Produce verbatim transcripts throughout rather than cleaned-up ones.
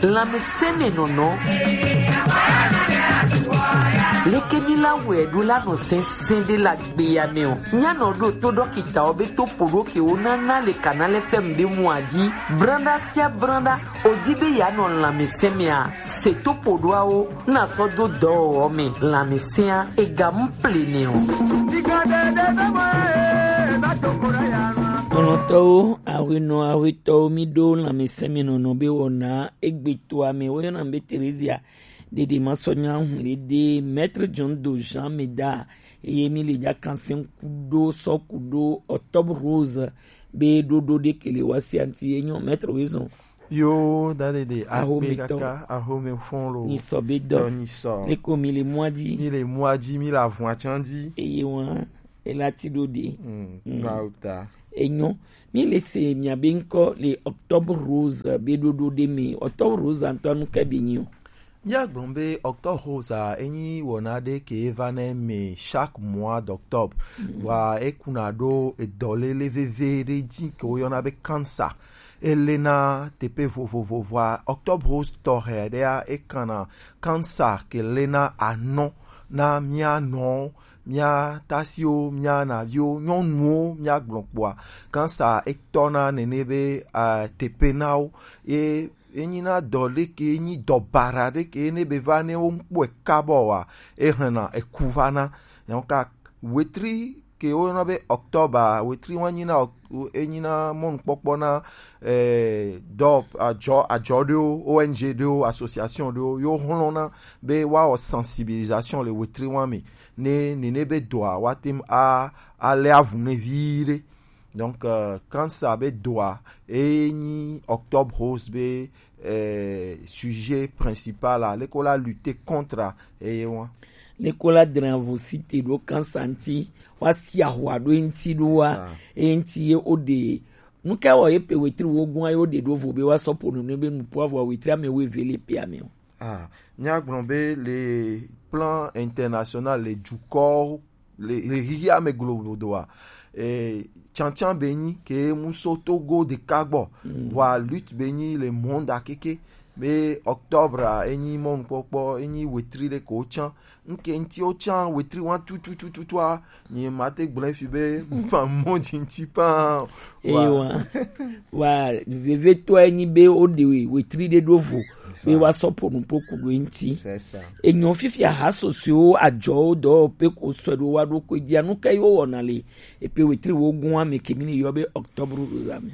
Lanmeseme nono. Leke mi la wɛ do la no sɛnsɛn de la gbe ya me o. Nya no do to dɔkita o be to podo ke o na na le kanale fɛm be mu aji. Branda sia branda o di be ya no lanmeseme a. Se to podo a o na so do dɔ o me lanmesea e ga mu plene o. Nɔnɔtɔwo, ahuinɔ, ahuitɔwo, mi do lanmeseme nono be wɔna egbe to ame. Wo yɔna be Theresia. Dede ma sɔ nya hun le de Maître John Do Jean Meda. Eye mi le ja kansen kudo sɔ kudo Octobre Rose be ɖoɖo ɖe ke le wa si anti ye nyɔ Maître Wizon. Yo, da dede, Aho akpe mi tɔ. Kaka, aho mi fɔn lo. Ni sɔ be dɔ. Dɔ ni sɔ. Le ko mi le mua di. Mi le mua di, mi le avua can di. Eye wa, e la ti ɖo de. Mm, mm. Ba o ta. Enyo. Mi le se mia be nkɔ le Octobre Rose be ɖoɖo ɖe me. Octobre Rose antɔ nu ke be nyi o. Míagblɔ be Octobre Rose a, enyi wɔna ɖe ke va nɛ mi chaque mois d'octobre. Mm. Vɔa ekuna ɖo edɔlele veve ɖe dzi ke woyɔna be cancer. Elena teƒe vovovo vɔa Octobre Rose tɔxɛ ɖea ekana cancer ke lena anɔ na mía nɔwo, mía tasiwo, mía naviwo, nyɔnuwo, míagblɔ kpɔa, cancer etɔna nene be, eh, teƒe na wo. Ye enyina dɔ ɖe ke, enyi dɔ baɖa ɖe ke, ne be va ne wo ŋkpɔe kabɔ wa, ehlena eku va na. Donc, wetri ke woyɔna be octobre, wetri wa nyina oct-, enyina mɔnukpɔkpɔ na, eh, dɔ, adzɔ, adzɔ ɖewo, O N G ɖewo, association ɖewo, yo hlɔna be woawɔ sensibilisation le wetri wa me. Ne, nene be dɔa, woate ŋu a, alé avu nɛ viɖe. Donc, euh, cancer be dɔa, enyi Octobre Rose be, euh, sujet principal a, leke wo la lutter contre eye wa. Leke wo la dra vo si te ɖo cancer ŋuti, wa si ahwa ɖo eŋuti ɖo wa, eŋuti ye wo ɖe. Nu ka wɔ ye pe wetri wo gɔn ye wo ɖe ɖo vo be wa sɔ ƒo nu ne be nu po avɔ wetri ame wo eve le pe ame o. Ah, míagblɔ be le plan international, le dukɔwo, le, le xexea me globodoa, eh, tsantsan be nyi ke mu so Togo ɖeka gbɔ, mm, vɔa lutte be nyi le monde akeke, be octobre a, enyi mɔnukpɔkpɔ, enyi wetri ɖe ko tsã. Nke ŋuti wo tsã wetri wa tututututua, nye mate gblɔe fi be ma mɔ dzi ŋuti paa. Ewa. Wa. Wa, vevetɔe nyi be wo ɖe wetri ɖe ɖo vo, be wa sɔ ƒo nu ƒo ku ɖo eŋuti. C'est ça. Enyo fifia ha sosoewo adzɔwo dɔ pe ko sɔ ɖo wa ɖo ko dia nu ke yo wɔna le epe wetri wo gun ame ke mi ni yɔ be octobre rose ame.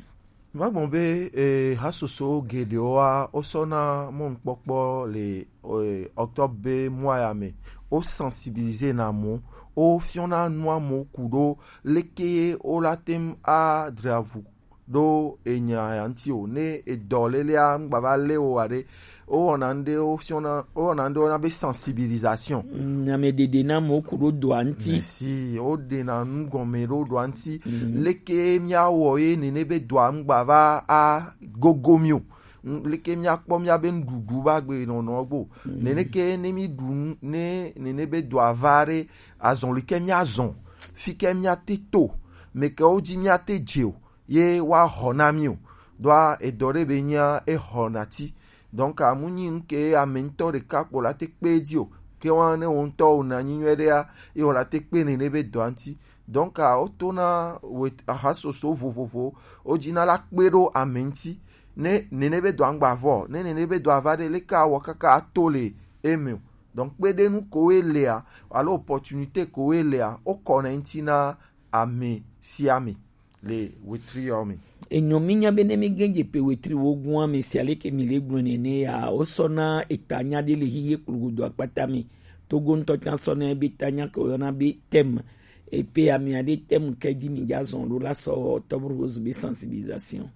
Magbɔn be, eh, ha soso geɖewoa, wo sɔna mɔnukpɔkpɔ le, eh, octobre be mois ya me. Wo sensibiliser na mo, wo fiɔna nua mo ku ɖo leke wo la tem a dravu ɖo enya ya ŋuti o. Ne edɔ lelea ŋgba va lé wo wa ɖe, wo wɔna ŋɖe wo fiɔna, wo wɔna ŋɖe wo na be sensibilisation. Mm, ame ɖeɖe na mo ku ɖo dɔa ŋuti. Merci, wo ɖena nu gɔme ɖo dɔa ŋuti. Mm. Leke mía wɔ ye nene be dɔa ŋgba va a gogo mi o. N-, leke mía kpɔ mía be nuɖuɖu va gbe nɔnɔ gbo. Mm. Nene ke ne mi ɖu nu, ne, nene be dɔa va ɖe, azɔn li ke mía zɔn, fi ke mía te to, me ke wo dzi mía te dze o. Ye wa xɔ na mi o. Ɖoa edɔ ɖe be nyia exɔ na ti. Donc, amu nyi ŋke ame ŋutɔ ɖeka kpo la te kpe dzi o. Ke wa ne wo ŋutɔ wo na nyi nyuie ɖea, ye wo la te kpe nene be dɔa ŋuti. Donc, a, wo to na we-, ahasoso vovovo, wo dzi na la kpe ɖo ame ŋuti. Ne nene be dɔa ŋgba vɔ, ne nene be dɔa va ɖe, leke awɔ kaka ato le eme o. Donc, kpeɖenu ko we lea, alo opportunité ko we lea, wo kɔ na ŋuti na ame sia ame le wetri yawo me. Enyo mi nya be ne mi gɛn dze pe wetri wo gun ame sia leke mi le gblɔ nene ya, wo sɔ na eta nya ɖe le hihe kplogodo akpata me. Togo ŋutɔ can sɔ na ebe ta nya ke wo yɔna be thème. Epe ame aɖe thème ke dzi mi dza zɔn ɖo la sɔ Octobre Rose be sensibilisation.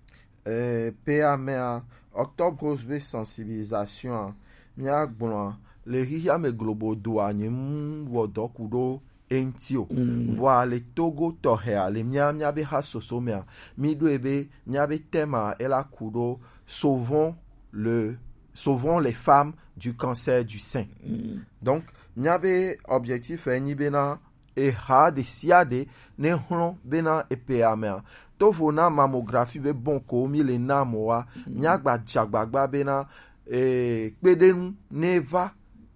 Eh, pe amea, Octobre Rose be sensibilisation a, mía gblɔa, le hiha me globodoa, nye mu wɔ dɔ ku ɖo eŋuti o. Mm. Vɔa le Togo tɔxɛa, le mía, mía be ha soso mea, mi ɖo ebe mía be thème a, ela ku ɖo sauvons le, sauvons les femmes du cancer du sein. Mm. Donc, mía be objectif e nyi bena, eha ɖe sia ɖe ne xlɔ̃ bena epe amea. Tovo na mammographie be bon ko mi le na mɔ wa, mm, mía gba dza gbagba bena, eh, kpeɖenu ne va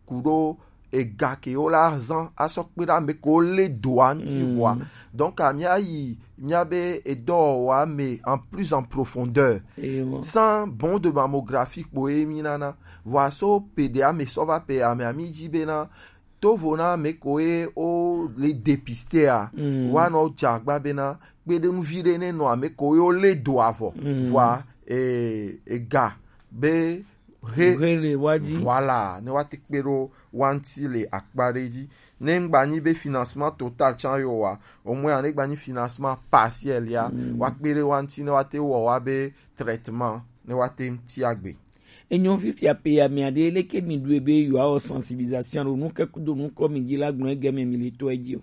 ku ɖo ega ke wo la zan asɔ kpe ɖe ame ko le doa ŋuti vɔa. Donc a mía yi mía be edɔwɔwɔa me en plus en profondeur. Sans bon de mammographie kpo ye mi nana. Vɔa so pe ɖe ame sɔ va pe ame ami dzi be na tovo na ame ko ye o le dépister a. Wa nɔ dze agba be na kpeɖenuvi ɖe ne nɔ ame ko ye o le doa vɔ. Vɔa e, ega be he He le wa dzi. Voilà, ne wa te kpe ɖo wa ŋuti le akpa ɖe dzi. Ne ŋgba nyi be financement total tsan yo wa, au moins ne gba nyi financement partiel ya, wa kpe ɖe wa ŋuti ne wa te wɔ wa be traitement ne wa te ŋuti agbe. Enyo fifia pe ya mia ɖe leke mi ɖu ebe yo awɔ sensibilisation ɖo nu ke kudo nu kɔ mi dzi la gblɔ ege me mi le to edzi o.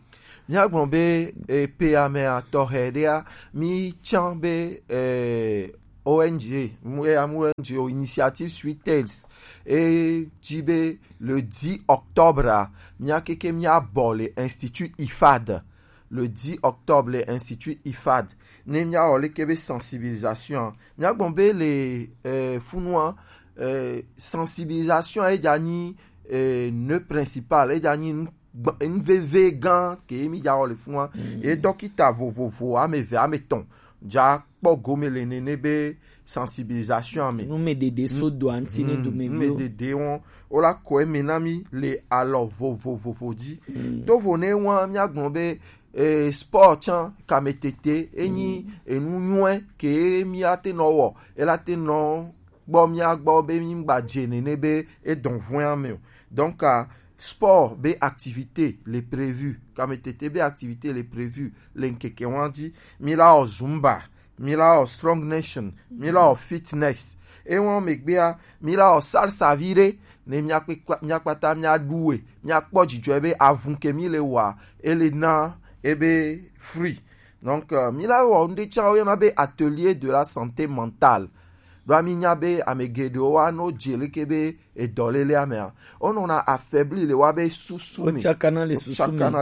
Míagblɔ be e, pe ya mea tɔxɛ ɖea mi tsan be e, O N G, mu- e, amu O N G o Initiative Sweet Tales e dzi be le dix octobre a mía keke mía bɔ le Institut IFAD. Le dix octobre le Institut IFAD ne mía wɔ leke be sensibilisation a mía gbɔn be le eh, funua eh, sensibilisation e dza nyi eh, nœud principal e dza nyi nu gba- nu veve gã ke mi dza wɔ le funua. Ye dɔkita vovovo ame eve ame etɔn dza kpɔ gome le nene be sensibilisation ame. Numeɖeɖe so doa ŋuti ne dumeviwo. Numeɖeɖe wɔn wola kɔ eme na mi le alɔ vovovovo dzi. Tovo ne wɔn míagblɔ be eh, sport tsã kametete enyi enu nyuie ke mi ate nɔ wɔ ela te nɔ gbɔ mía gbɔ be mi gba dze nene be edɔn vɔ̃ ame o. Donc uh, sport be activité le prévu, kametete be activité le prévu le ŋkeke wɔn dzi. Mi la wɔ zumba, mi la wɔ strong nation, mi la wɔ fitness. Ewɔn megbea mi la wɔ salsa vi ɖe ne mía kpe- mía kpata mía ɖu we mía kpɔ dzidzɔe be avun ke mi le wa ele na ebe free. Donc uh, mi la wɔ ŋɖe tsa woyɔna be atelier de la santé mentale. Ɖo ami nya be ame geɖewo wa no dze leke be edɔlele amea wonɔna affaibli le wa be susu me. Wotsakana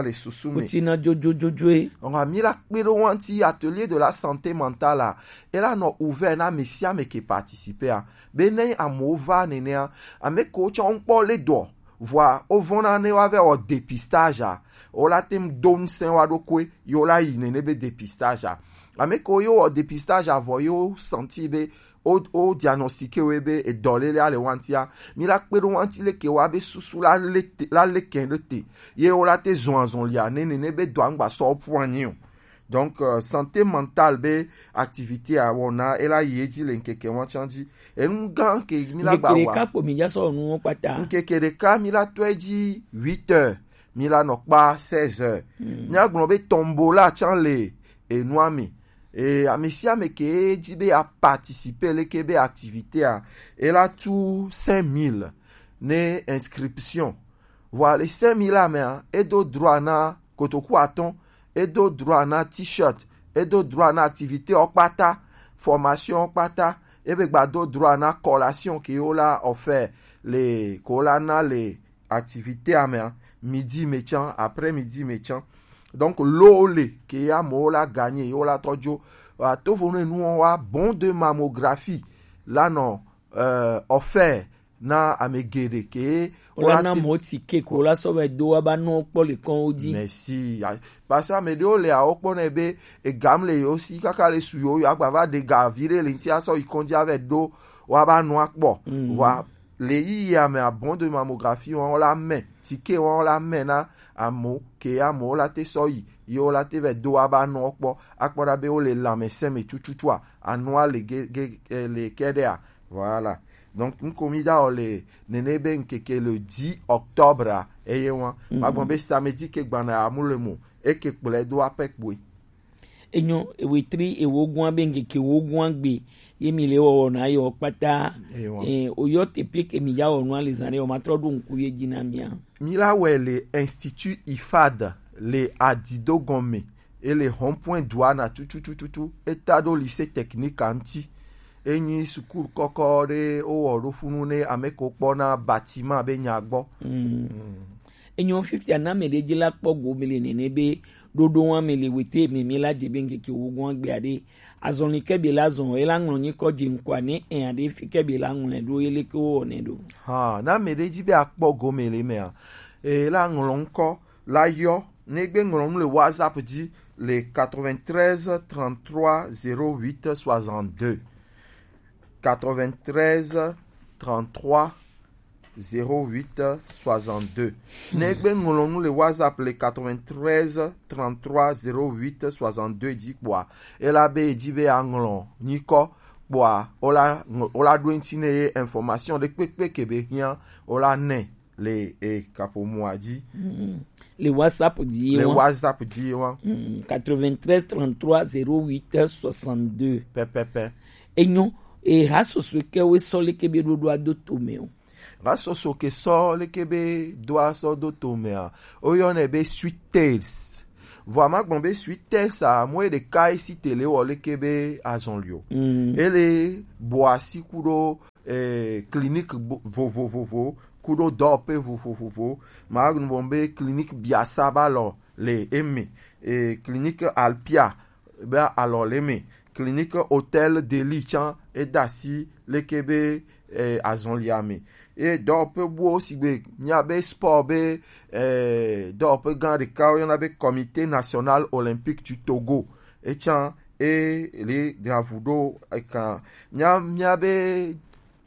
le susu me. Wotsina dzodzodzodzoe. Ɔnga mi la kpe ɖo wa ŋuti atelier de la santé mentale a ela nɔ ouvert na ame sia ame ke participer a be ne amewo va nenea ame ko tsɔ ŋkpɔ le dɔ vɔa wovɔna ne wa vɛ wɔ dépistage a wola te ŋu do ŋusẽ wa ɖokui ye wola yi nene be dépistage a ame ko ye wɔ dépistage a vɔ ye wo senti be o o diagnostiqué wo be edɔlele ale wantia mi la kpe ɖo wanti leke wa be susu la le te la le kɛn ɖe te ye wo la te zɔn azɔn lia ne nene be dɔ aŋgba sɔ pu anyi o. Donc uh, santé mentale be activité a wɔna ela yi edzi le ŋkeke wɔn tsan dzi enu gã ke mi la gba wa ŋkeke ɖeka kpo mi dza sɔ nuwo kpata ŋkeke ɖeka mi la tɔ edzi huit heures mi la nɔ kpa seize heures. Mía gblɔ be tombola tsan le enua me eye ame sia ame ke dzi be a participer leke be activité a ela tu cinq mille ne inscription. Vɔa le cinq mille a mea edo droit na kotoku atɔn, edo droit na t-shirt, edo droit na activité ɔ kpata, formation ɔ kpata, ebe gba do droit na collation ke wo la offert le ko la na le activité a mea midi me tsan après midi me tsan. Donc lo le ke amewo la gagner yewo la tɔdzo atovo ne nuwo wa bon de mammographie la nɔ euh, offert na ame geɖe ke wola na mɔ ti ke ko la sɔ vɛ do wa ba nɔ kpɔ le kɔn wo dzi. Merci. Parce que ame ɖewo le awo kpɔ nɛ be egam le yewo si kaka le su yewo yewo agba va ɖe ga vi ɖe le ŋuti asɔ yi kɔn dzi avɛ do wa ba nɔ akpɔ wa le yiyi ame abɔn de mammographie wɔn la mɛ ti ke wɔn la mɛ na amewo ke amewo la te sɔ yi yewo la te vɛ do wa ba nɔ kpɔ akpɔ ɖa be wo le lãmesẽ me tututua anua le ge ge eh, le kɛ ɖea. Voilà. Donc ŋko mi da o le nene be ŋkeke le dix octobre a eye wa ma gbɔn be samedi ke gbana amu le mo eke kplɛ do apɛ kpoe. Enyo ewetri ewogun abe ŋkeke wogun agbe ye mi le wɔwɔ na yɔ kpata. Ewa. Eh, oyɔ te pie ke mi ya wɔ nua le zan ɖe o ma trɔ ɖo ŋku ye dzi na mia. Mi la wɛ le Institut ifad le adido gɔme e le hɔnpɔn dua na tututututu e ta ɖo lycée technique a ŋuti. Enyi sukulu kɔkɔ ɖe wowɔ ɖo funu ne ame ko kpɔ na bâtiment be nya gbɔ. Enyo fifia na ame ɖe dzi la kpɔ go mi le nene be ɖoɖo wa mi le wete mi mi la dze be ŋkeke wogun agbe aɖe Azɔli ke be la zɔn, e la ŋlɔ nyikɔ je ŋkɔ ne e aɖe fi ke be la ŋlɔ ɖo, e leke wo ne ɖo. Ha, na me ɖe dzi be akpɔ gome le mea, e la ŋlɔ ŋkɔ la yɔ, ne gbe ŋlɔ nu le WhatsApp dzi le quatre-vingt-treize trente-trois zéro huit soixante-deux. Quatre-vingt-treize trente-trois zéro huit soixante-deux. Ne gbe ŋlɔ nu le WhatsApp le quatre-vingt-treize trente-trois zéro huit soixante-deux dzi kpɔa, e la be e dzi be aŋlɔ nyikɔ kpɔa, o la ŋ-, o la ɖo eŋti ne ye information ɖe kpekpe ke be hiã, o la nɛ le e kaƒomɔa dzi. Mm. Le WhatsApp dzi ye Le wa. WhatsApp dzi ye wa. Mm. Quatre-vingt-treize trente-trois zéro huit soixante-deux. Pɛpɛpɛ. Enyo, e ha soso ke we sɔ leke be ɖoɖoa do to me o. Ha soso ke sɔ leke be doa sɔ do to mea, o yɔ nɛ be Sweet Tales. Vɔ a ma gbɔn be Sweet Tales a, mo e ɖeka e si tele wɔ leke be azɔli o. Mm. E le bo asi ku ɖo eh, clinique bo-, vovovovo, kuɖo dɔwɔƒe vovovovo. Magblɔ be clinique Biasa ba lɔ le eme, eh, clinique Alpia ba alɔ le eme, clinique Hôtel de Lille tsã eda asi leke be, eh, azɔlia me. Eye dɔwɔƒe buwo sigbe mía be sport be, eh, dɔwɔƒe gã ɖeka woyɔna be Comité National Olympique du Togo. Etsã e le dravu ɖo eka mía, mía be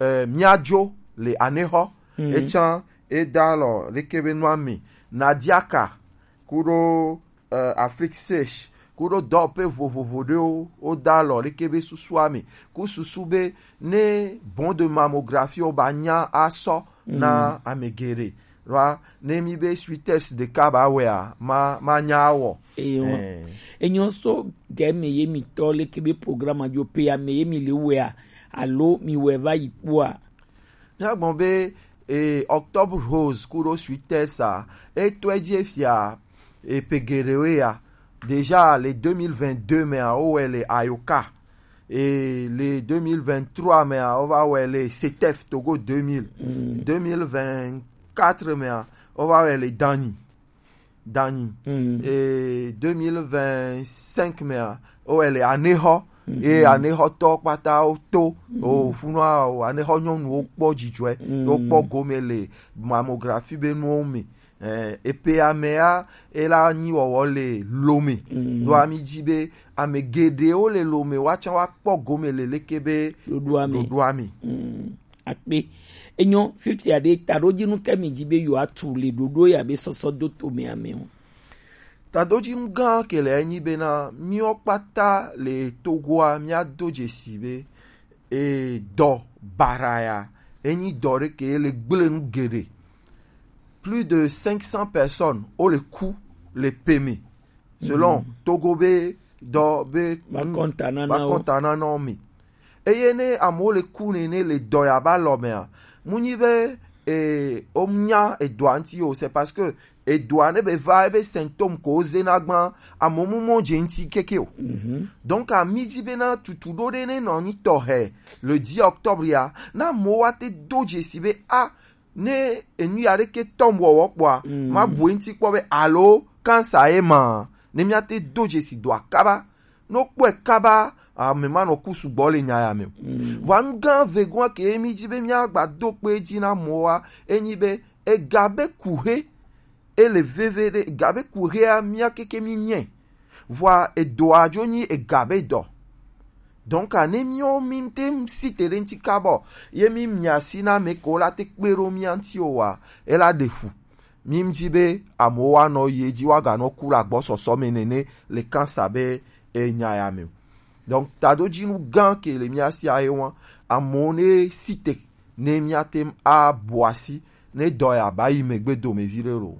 eh, míadzo le anexɔ. Mm. Etsã eda alɔ leke be nua mi Nadiaka kuɖo, eh, Afrique Sèche kuɖo dɔwɔƒe vovovo ɖewo woda alɔ leke be susua mi ku susu be ne bon de mammographie wo ba nya asɔ na ame geɖe. Ɖoa ne mi be Sweetest ɖeka ba wɔea, ma, ma nya awɔ. Eyo. Eh. Enyo so ge me ye mi tɔ leke be programme adzo pe ame ye mi le wɔea, alo mi wɛ va yi kpɔa? Míagbɔn be, eh, Octobre Rose kuɖo Sweetest a, etɔe dzi efia, eh, pe geɖewo ya. Déjà le deux mille vingt-deux mea, wowɔe le Ayoka. Et le deux mille vingt-trois mea, wova wɔe le CETEF Togo deux mille. Mm. Deux mille vingt-quatre mea, wova wɔe le Danyi. Danyi. Mm. Et deux mille vingt-cinq mea, wowɔe le Anexɔ. Mm. Et Anexɔtɔ kpata wo to. Mm. O funua o, Anexɔ nyɔnuwo kpɔ dzidzɔe. Mm. Wokpɔ gome le mammographie be nuwo me. Eh, epe amea, ela nyi wɔwɔ le Lome. Mm. Ɖoa mi dzi be ame geɖewo le Lome, woatsã woakpɔ gome le leke be ɖoɖoa me. Ɖoɖoa me. Mm. Akpe. Enyo, fifia ɖe, taɖodzinu ke mi dzi be yewoatu le ɖoɖo ya be sɔsɔ do to me ame o. Taɖodzinu gã ke le enyi bena, míwo kpata le Togoa, míado dzesi be e, dɔ bara ya, enyi dɔ ɖe ke le gblẽ nu geɖe. Plus de cinq cents personnes wo le ku le pe me. Selon Togo be dɔ be ba kɔntananawo. Ba kɔntananawo me. Eye ne amewo le ku nene le dɔ ya ba lɔ mea, mu nyi be, e, o nya edɔa ŋuti o, c'est parce que edɔa ne be va ebe symptôme ko wo zena gbã, amewo mu mɔ dze ŋuti keke o. Mhm. Donc, a mi dzi bena tutu ɖo ɖe ne nɔ anyi tɔxɛ le dix octobre ya, na amewo wa te do dzesi be, a, ne enu ya ɖeke tɔm wɔwɔ kpɔa, mm, ma bu eŋuti kpɔ be alo cancer ye ma, ne mía te do dzesi dɔa kaba. Ne wokpɔe kaba, ame ma nɔ ku sugbɔ le nya ya me o. Mm. Vɔa nu gã vegoa ke mi dzi be míagba do kpe dzi na mɔa, enyi be ega be kuxe, ele veve ɖe, ega be kuxea mía keke mi nyɛ. Vɔa edɔa dzo nyi ega be dɔ. Donc, ne míwo mi te si te ɖe ŋuti kabɔ, ye mi mia si na me ko la te kpe ɖo mía ŋuti o wa, ela ɖe fu. Mi ŋdi be amewo wa nɔ yi edzi wa ga nɔ ku le agbɔsɔsɔ me nene le cancer be enya ya me o. Donc, taɖodzinu gã ke le mía sia ye wa, amewo ne si te ne mía te ŋu abu asi ne dɔ ya ba yi megbe dome viɖe lo.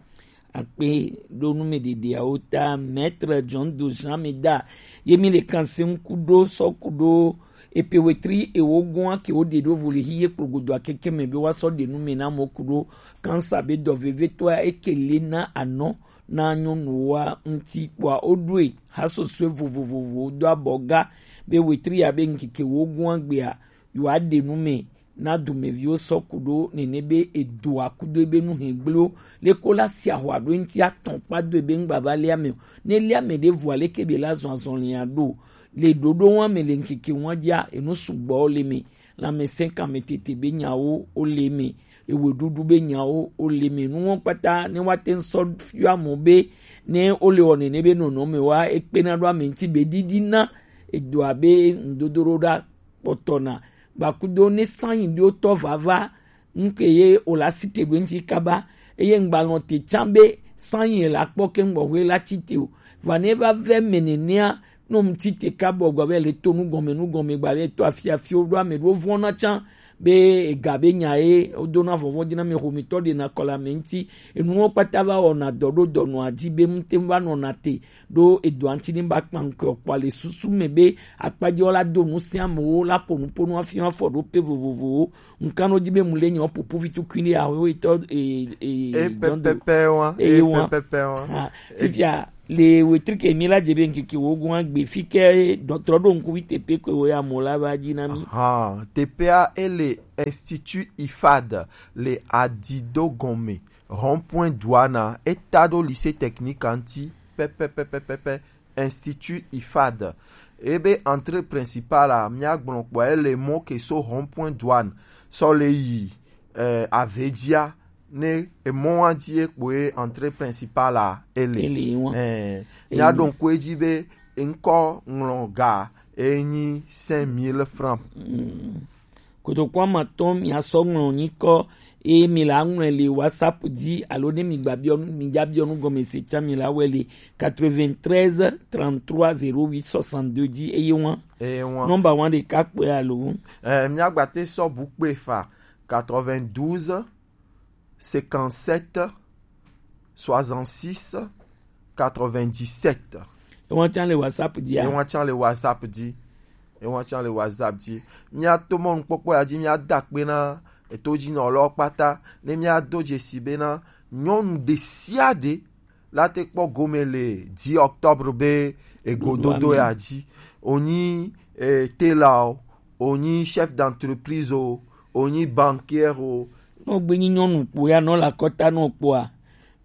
Akpe ɖo nu me ɖeɖeawo ta, Maître John Dojan mi da ye mi le kanse ŋku ɖo sɔ ku ɖo epe wetri ewo gɔn ake wo ɖe ɖo vo le hi ye kplogodo akeke me be wa sɔ ɖe nu me na mo ku ɖo kansa be dɔ vevetɔa eke le na anɔ na nyɔnuwoa ŋuti kpɔa wo ɖoe ha sɔsɔe vovovovowo do abɔ ga be wetri ya be ŋkeke wo gɔn agbea yewoa ɖe nu me na dumeviwo sɔ ku ɖo nene be edoa kudo ebe nu hɛn gbleo. Leko la si ahwa ɖo eŋuti atɔn kpa do ebe ŋgba va lia me o. Ne lia me ɖe vɔa leke be la zɔn azɔlia ɖo? Le ɖoɖo wa me le ŋkeke wa dzia, enu sugbɔ wo le me. Lanmɛsɛnkanmɛ tete be nyawo wo le me. Eweɖuɖu be nyawo wo le me. Nu wo kpata ne wa te ŋ sɔ fiɔ amewo be ne wo le wɔ nene be nɔnɔme wa, ekpena ɖo ame ŋuti be ɖiɖi na edo abe ŋdodo ɖo ɖa kpɔtɔ na. Gbakudo ne sanyi ɖo tɔ vava, ŋke ye o la si te ɖo ŋti kaba, eye ŋgba lɔn te tsã be sanyi la kpɔ ke ŋgbɔxwe la tsi te o. Va ne va vɛ me nenea, no ŋti te kabɔ gba be le to nugɔme nugɔme gba be to afi afi wo ɖo ame ɖo vɔn na tsã be ega be nya ye wo do na vɔvɔn dzi na me xomitɔ ɖe na kɔ le ame ŋti. Enuwo kpata va wɔna dɔ ɖo dɔnɔa dzi be ŋte va nɔna te ɖo edoa ŋti ne ba kpa ŋkɔ kpɔ le susu me be akpadzi wo la do nu sia amewo la ƒo nu ƒo nu afi afɔ ɖo pe vovovowo. Ŋkanɔ dzi be mu le nyɔ pupu vi tukui ne awe wetɔ e e e jɔn do pɛpɛpɛ wa eye e wa pɛpɛpɛ wa ha fifia le wetri ke mi la dze be ŋkeke wo gun agbe fi ke dɔtrɔ ɖo ŋku vi tepe ko wo ya mo la va dzi na mi. Ha, teƒea ele Institut ifad le Adido gɔme, rond-point Douane, eta ɖo lycée technique anti pɛpɛpɛpɛpɛ. Institut ifad. Ebe entrée principale a, míagblɔ kpɔa, ele mɔ ke so rond-point Douane sɔ le yi eh, avedzia ne emɔa dzi ekpoe entrée principale a ele. Ele wa. Eh, míaɖo ŋku edzi be ŋkɔ ŋlɔ ga enyi cinq mille francs. Kotoku amatɔn miasɔ ŋlɔ nyikɔ eye mi la ŋlɔe le WhatsApp dzi alo ne mi gba biɔ nu mi dza biɔ nu gɔme se tsã mi la wɛ le quatre-vingt-treize trente-trois zéro huit soixante-deux dzi eye wa. Eye wa. Nɔmba wa ɖeka kpɔe alo. Eh, miagbate sɔ bu kpe fa quatre-vingt-douze cinquante-sept soixante-six quatre-vingt-dix-sept. Ewa tsã le WhatsApp dzia? Ewa tsã le WhatsApp dzi. Ewa tsã le WhatsApp dzi. Míato mɔnukpɔkpɔ ya dzi míada akpe na etodzinɔlawo kpata ne míado dzesi bena nyɔnu ɖe sia ɖe la te kpɔ gome le dix octobre be egododo ya dzi. Wonyi eh, tailor o, wonyi chef d'entreprise o, wonyi banquier o. Nɔ gbe nyi nyɔnu kpo ya nɔ le akɔta nɔ kpoa,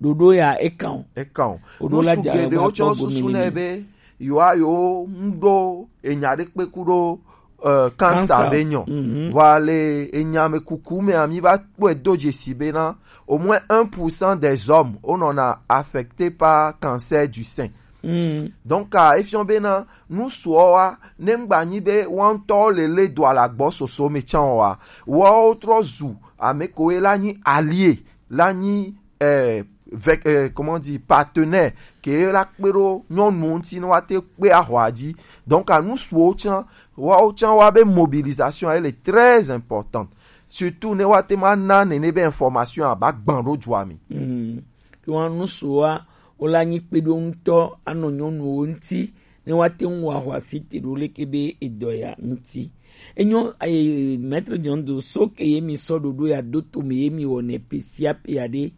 ɖoɖo ya ekan o. Ekan o. Woɖo la dza geɖewo tsɔ susu nɛ be yewoa yewo ŋɖo enya ɖe kpe ku ɖo eh, cancer be nyɔ. Vɔa le enya me kuku mea mi va kpɔe do dzesi bena au moins un pour cent des hommes wonɔna affectés par cancer du sein. Donc a efiɔ bena nusuɔ wa ne ŋgba nyi be woawo ŋutɔwo le le do ala gbɔ soso me tsã wa, woawo trɔ zu ame koe la nyi alie la nyi eh, vec, eh, comment dire, partenaire ke la kpe ɖo nyɔnuwo ŋuti ne woate kpe axɔa dzi. Donc a nusuwo tsã, woawo tsã woa be mobilisation elle est très importante, surtout ne woate ma na nene be information a ba gbã ɖo dua me. Ke wa nusuwoa wo la nyi kpeɖoŋutɔ anɔ nyɔnuwo ŋuti ne woate ŋu wɔ ahwasi te ɖo leke be edɔ ya ŋuti. Enyo eh, maître John do so ke ye mi sɔ ɖoɖo ya do to me ye mi wɔ ne pe sia pe ya ɖe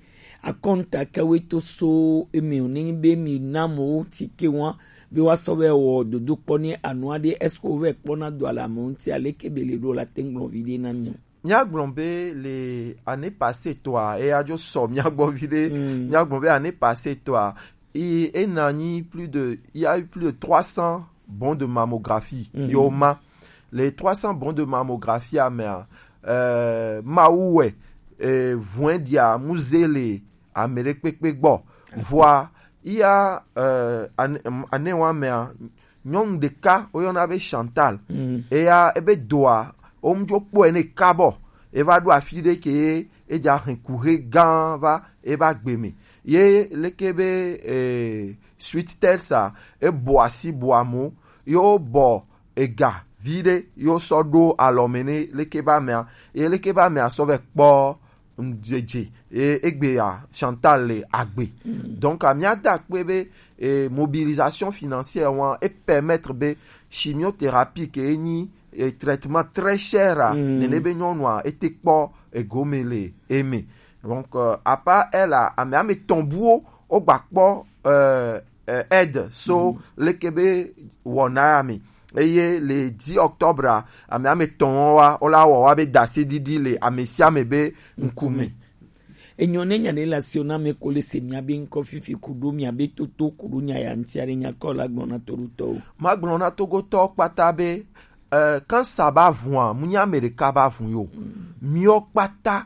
akɔnta ke we to so eme o ne be mi na mo ti ke wa be wa sɔ be wɔ dodo kpɔ ne anua ɖe est-ce que wo vɛ kpɔ na do ala mo ŋuti aleke be le ɖo la te ŋgblɔ vi ɖe na mi o. Míagblɔ be le année passée tɔa eya dzo sɔ míagbɔ vi ɖe. Míagblɔ be année passée tɔa i ena nyi plus de il y a eu plus de trois cents bons de mammographie yo ma. Les trois cents bons de mammographie amea euh, mawu wɛ euh, vɔɛ dia muze le ame ɖe kpekpe gbɔ. Vɔa iya euh, ane, ane wa mea nyɔnu ɖeka woyɔna be Chantal. Eya ebe doa womudzo kpɔe ne kabɔ eva ɖo afi ɖe ke edza hɛn kuxe gã va eba gbe me. Ye leke be eh, suite tel sa ebɔ asi bɔ amo yo bɔ ega vi ɖe yo sɔ ɖo alɔ me ne leke ba mea ye leke ba mea sɔ vɛ kpɔ ŋdzedze e egbe ya Chantal le agbe. Donc a míada akpe be e mobilisation financière wa e permettre be chimiothérapie ke enyi e traitement très cher a nene be nyɔnua ete kpɔ egome le eme. Donc euh, à part elle a ame ame tɔn buwo wogba kpɔ euh, euh, aide so leke be wɔna ya me. Eye le dix octobre a ame ame tɔn wa wola wɔ wa be dasi ɖiɖi le ame sia ame be ŋkume. Enyo ne nya ɖe le asio na ame ko le se miabe ŋkɔ fifi kuɖo miabe toto kuɖo nya ya ŋuti aɖe nya kɔ la gblɔ na toɖotɔwo. Magblɔ na togotɔwo kpata be, eh, kansa ba vua, mu nya ame ɖeka ba vu yo. Miɔ kpata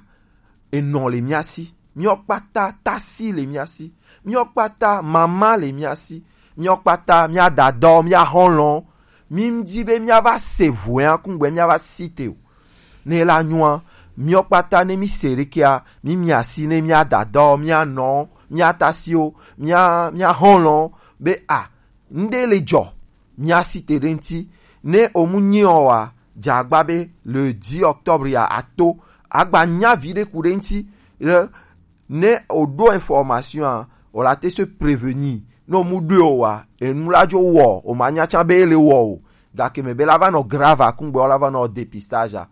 enɔ le mia si. Miɔ kpata tasi le mia si. Miɔ kpata mama le mia si. Miɔ kpata mia dadɔ, mia hɔlɔ. Mi ŋdi be mia va se vua kungbe mia va si te o. Ne la nyua, miɔ kpata ne mi se ɖekea, mi mia si ne mia dadɔ, mia nɔ, mia tasiwo, mia, mia hɔlɔ, be a, ŋɖe le dzɔ, mia si te ɖe ŋti. Ne o mu nyi o wa, dza agba be le dix octobre ya ato, agba nya vi ɖe ku ɖe ŋti, le ne o ɖo information a, o la te se prévenir. Ne o mu ɖo o wa, enu la dzo wɔ, o ma nya tsa be e le wɔ o. Gake me be la va nɔ grave akungbe, o la va nɔ dépistage a.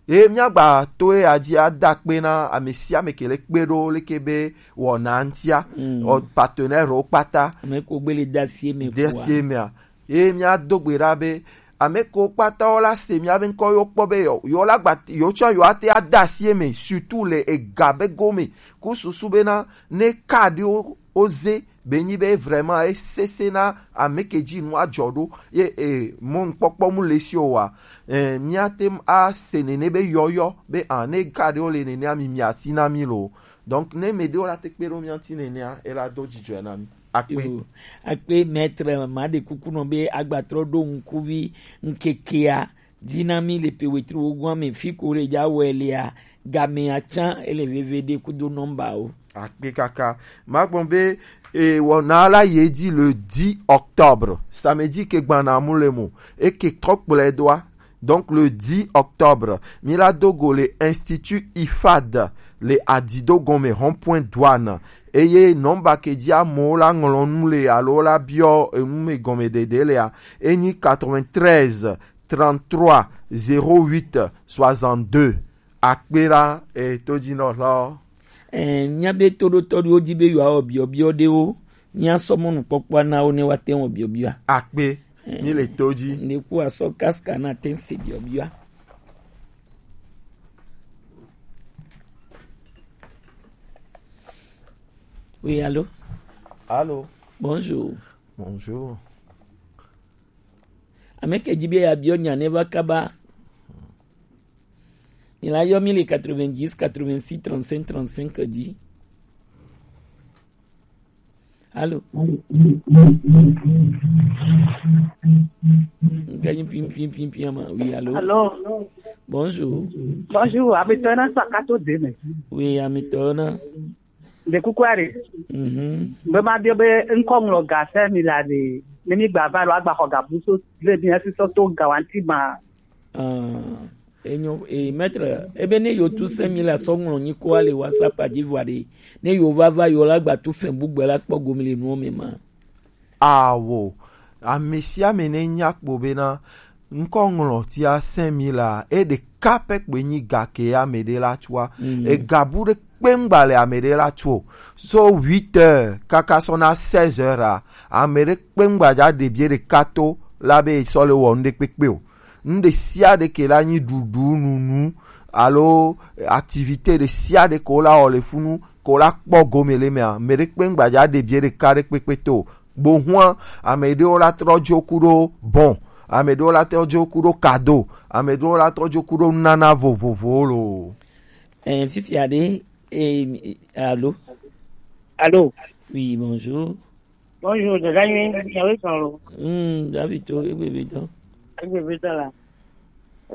Ye míagba to eya dzi ada akpe na ame sia ame ke le kpe ɖo leke be wɔna ŋutia, Mm. wɔ partenaire wo kpata. Ame ko gbe le de asi eme De kua. asi emea. Ye míado gbe ɖa be ame ko kpata wo la se míabe ŋkɔ yo kpɔ be yo, yo la gba, yo tsɔ yo ate ada asi eme, surtout le ega be gome. Ku susu bena ne kaɖiwo wo ze be nyi be vraiment e sese na ame ke dzi nu adzɔ ɖo ye e mɔnukpɔkpɔ mu le si o wa, e, míate ŋu ase nene be yɔyɔ be a ne kaɖiwo le nenea mi mia si na mi lo. Donc ne me ɖewo la te kpe ɖo mía ŋuti nenea, e la do dzidzɔe na mi. Akpe. Yo, akpe maître, ma ɖe kuku nɔ be agbatrɔ ɖo ŋkuvi ŋkekea dzi na mi le pe wetri wogoa me fi ko le dza wɛ lea, game atsã ele veve ɖe kudo nɔmba o. Akpe kaka. Magbɔn be, e, wɔna la ye dzi le dix octobre, samedi ke gbana mu le mo, e ke trɔ kplɔe doa. Donc le dix octobre, mi la do go le Institut ifad le Adido gɔme rond-point douane. Eye nɔmba ke dzi amewo la ŋlɔ nu le alo la biɔ enu me gɔme ɖeɖe lea, enyi quatre-vingt-treize, trente-trois, zéro huit, soixante-deux. Akpe ɖa, e, todzinɔlawo. E, míabe toɖotɔ ɖewo di be yewoawɔ biɔbiɔ ɖewo, míasɔ mɔnukpɔkpɔa na wo ne woate ŋu wɔ biɔbiɔa. Akpe, mi le to dzi. Ŋɖe ku asɔ kaska na te se biɔbiɔa. Oui, allô? Allô? Bonjour. Bonjour. Ame ke dzi be yeabiɔ nya ne va kaba. Mi la yɔ mi le quatre-vingt-dix, quatre-vingt-six, trente-cinq, trente-cinq dzi. Allô? Nka nyi pim, pim, pim, pim, ama. Oui, allô? Allô? Bonjour. Bonjour, amitɔ na sakato deme. Oui, amitɔ na. De kukuari. Mhm. Be ma biɔ be ŋkɔ ŋlɔ ga se mi la de. Ne mi gba va lo agba xɔ ga buso le mi asi sɔ to ga wanti ma. Ah, enyo, e, maître, ebe ne yo tu se mi la sɔ ŋlɔ nyi ko ale WhatsApp a dzi vɔ ɖe. Ne yo va va yo la gba tu fɛn bu gbe la kpɔ gomi le nuwo me ma. Awo, ame sia ame ne nya kpo bena ŋkɔ ŋlɔ tia se mi la, e ɖeka pɛ kpe nyi ga ke ame ɖe la tua. Mm. Ega bu ɖe kpengba le ame ɖe la tuo. So huit heures kaka sɔ na seize heures a, ame ɖe kpengba dza ɖe bie ɖeka to la be sɔ le wɔ nu ɖe kpekpe o. Nu ɖe sia ɖe ke la nyi ɖuɖu, nunu, alo activité ɖe sia ɖe ko la wɔ le funu, ko la kpɔ gome le mea, me ɖe kpengba dza ɖe bie ɖeka ɖe kpekpe to. Gbohua, ame ɖewo la trɔ dzo ku ɖo bon, ame ɖewo la trɔ dzo ku ɖo kado, ame ɖewo la trɔ dzo ku ɖo nana vovovowo lo. Eh, fifia ɖe, eh, allô? Allô? Oui, bonjour. Bonjour, dada nyui, nyawo sɔn lo. Hmm, David to, egbe be dɔ. Egbe be dɔ la.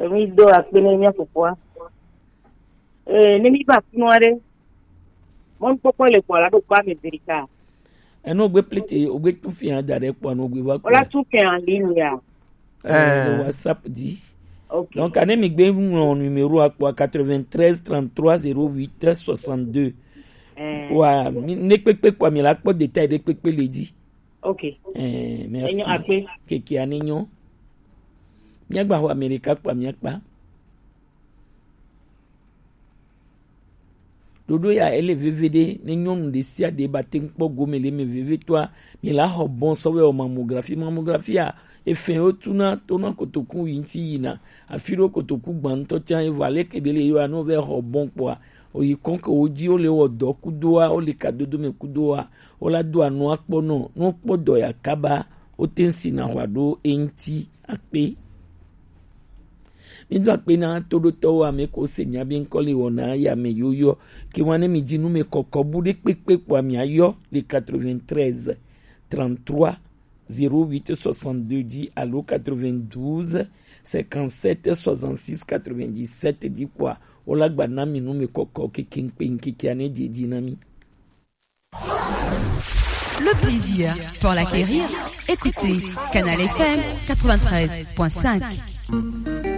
Emi do akpe ne mia fofoa. Eh, ne mi ba funu aɖe. Mɔnukpɔkpɔ le kpɔ la ɖo kpa me Amerika. Eno gbe plete, o gbe tu fia da ɖe kpɔ no gbe va kpɔ. Wala tu fia en ligne ya. Eh, le WhatsApp di. Ok. Donc, ane mi gbe ŋlɔ numéro akpɔ quatre-vingt-treize trente-trois zéro huit soixante-deux. Eh. Wa, mi, ne kpekpe kpɔ mi la kpɔ détail ɖe kpekpe le di. Ok. Eh, merci. Enyo akpe. Keke ane nyo. Miagba xɔ Amerika kpɔ miakpa. Ɖoɖo ya ele veve ɖe, ne nyɔnu ɖe sia ɖe ba te ŋu kpɔ gome le eme vevetɔa, mi la xɔ bɔn sɔ vɛ wɔ mammographie. Mammographie a, efɛn wo tuna tona kotoku yi ŋuti yina. Afi ɖo kotoku gbã ŋutɔ tsã, evo aleke be le yewoa, ne wo vɛ xɔ bɔn kpɔa, Oyi kɔn ke wo ji wo le wɔ dɔ kudo wa, wo le ka dodo mɛ kudo wa, wo la do anu akpɔ nɔ, nu kpɔ dɔ ya kaba, wo te si na hwa ɖo eŋti akpe. Mi do akpe na toɖotɔwo ame ko se nya be ŋkɔ le wɔ na ya me yoyo. Ke wa ne mi ji nu me kɔkɔ bu ɖe kpekpe kpɔ mi ayɔ le quatre-vingt-treize trente-trois zéro huit soixante-deux dix alo quatre-vingt-douze cinquante-sept soixante-six quatre-vingt-dix-sept dix kpɔa, wo la gba na mi nu me kɔkɔ keke ŋkpe ŋkeke ane didi na mi. Le plaisir pour l'acquérir. Écoutez Canal F M quatre-vingt-treize point cinq.